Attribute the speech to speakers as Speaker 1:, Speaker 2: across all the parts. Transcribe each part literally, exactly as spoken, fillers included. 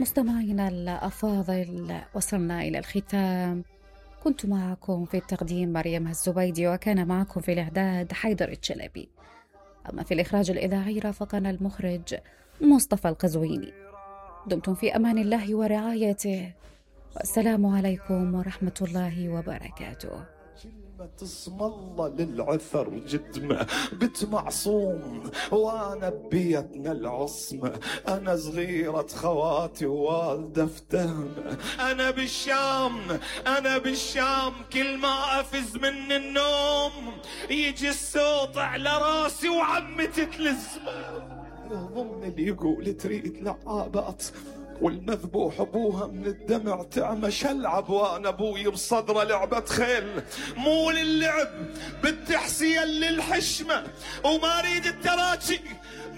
Speaker 1: مستمعينا الأفاضل، وصلنا إلى الختام. كنت معكم في التقديم مريم الزبيدي، وكان معكم في الإعداد حيدر الشلبي. أما في الإخراج الإذاعي رافقنا المخرج مصطفى القزويني. دمتم في أمان الله ورعايته، والسلام عليكم ورحمة الله وبركاته.
Speaker 2: كلمة اسم الله للعثر جدمة، بنت معصوم وانا ببيتنا العصمة، انا صغيرة خواتي ووالدة افتهمة، انا بالشام انا بالشام كل ما افز من النوم يجي الصوت على راسي وعمتي تلزمه. يهضمني اللي يقول تريد لعابات والمذبوح ابوها من الدمع تعمى، شلعب وانا ابوي بصدره لعبة خيل، مو للعب بالتحسين للحشمة، وما اريد التراجي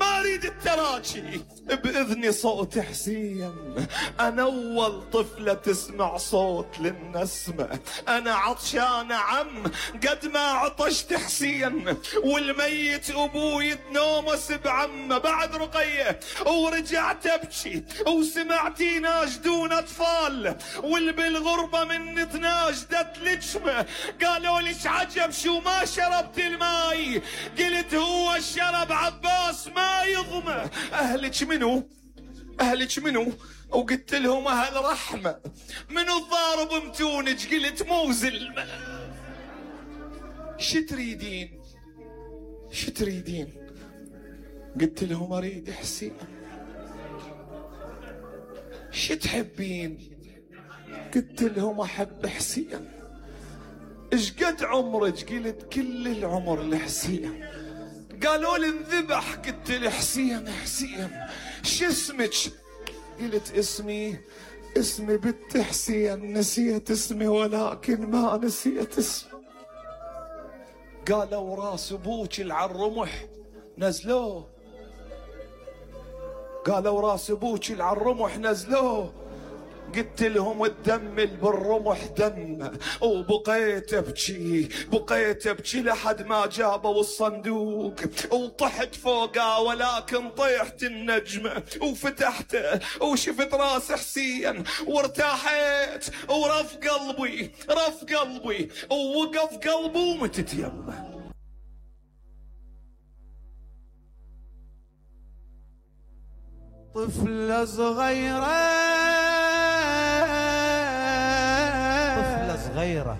Speaker 2: ما اريد التراجي باذني صوت حسين. انا اول طفلة تسمع صوت للنسمة، انا عطشانة عم قد ما عطشت حسين، والميت ابوي تنومس بعمه بعد رقية، ورجعت ابكي وسمعتي ناشدون اطفال، والبالغربة من تناشدت لجمة، قالوا ليش عجب شو ما شربت الماي، قلت هو الشرب عباس ما يضمه. اهلك منو اهلك منو وقلت لهم اهل رحمة، منو الضارب متونج قلت مو زلمة. شو تريدين شو تريدين قلت لهم اريد حسين. شو تحبين قلت لهم احب حسين. ايش قد عمرك قلت كل العمر لحسين. قالوا لي انذبح قلت له حسين حسين. شو اسمك قلت اسمي اسمي بنت حسين، نسيت اسمي ولكن ما نسيت اسمي. قالوا راس ابوك العالرمح نزلوه، قالوا راس ابوك العالرمح نزلوه، قلت لهم الدم اللي بالرمح دم، وبقيت ابكي بقيت ابكي لحد ما جابوا الصندوق، وطحت فوقه ولكن طيحت النجمة وفتحته وشفت راس حسين وارتاحت، ورف قلبي رف قلبي ووقف قلبي ومتت يمه.
Speaker 3: طفلة صغيرة طفلة صغيرة